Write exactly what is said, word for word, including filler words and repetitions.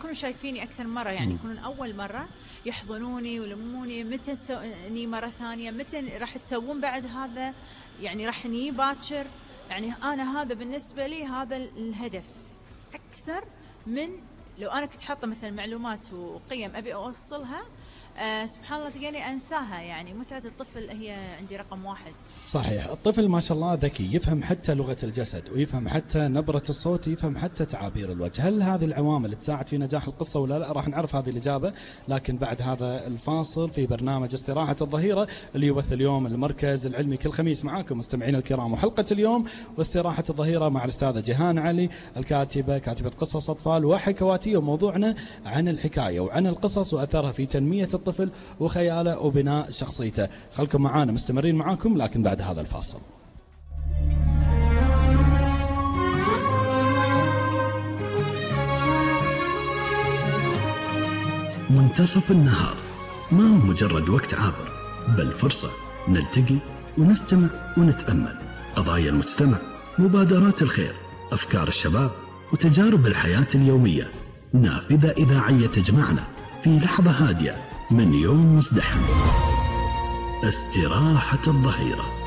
يكونوا شايفيني أكثر مرة، يعني يكونون أول مرة يحضنوني ويلموني، متى تسووني مرة ثانية، متى راح تسوون بعد هذا، يعني راح نيجي باكر. يعني أنا هذا بالنسبة لي هذا الهدف أكثر من لو أنا كنت حاطة مثلا معلومات وقيم أبي أوصلها. أه سبحان الله تلقاني أنساها. يعني متعة الطفل هي عندي رقم واحد. صحيح، الطفل ما شاء الله ذكي، يفهم حتى لغة الجسد ويفهم حتى نبرة الصوت، يفهم حتى تعابير الوجه. هل هذه العوامل تساعد في نجاح القصة ولا لا؟ راح نعرف هذه الإجابة لكن بعد هذا الفاصل في برنامج استراحة الظهيرة اللي يبث اليوم المركز العلمي كل خميس. معاكم مستمعين الكرام، وحلقة اليوم واستراحة الظهيرة مع الأستاذة جيهان علي، الكاتبة كاتبة قصص أطفال وحكواتية، وموضوعنا عن الحكاية وعن القصص وأثرها في تنمية الطفل وخياله وبناء شخصيته. خلكم معانا مستمرين معاكم لكن بعد هذا الفاصل. منتصف النهار ما هو مجرد وقت عابر، بل فرصة نلتقي ونستمع ونتأمل. قضايا المجتمع، مبادرات الخير، أفكار الشباب، وتجارب الحياة اليومية، نافذة إذاعية تجمعنا في لحظة هادية من يوم مزدحم. استراحة الظهيرة.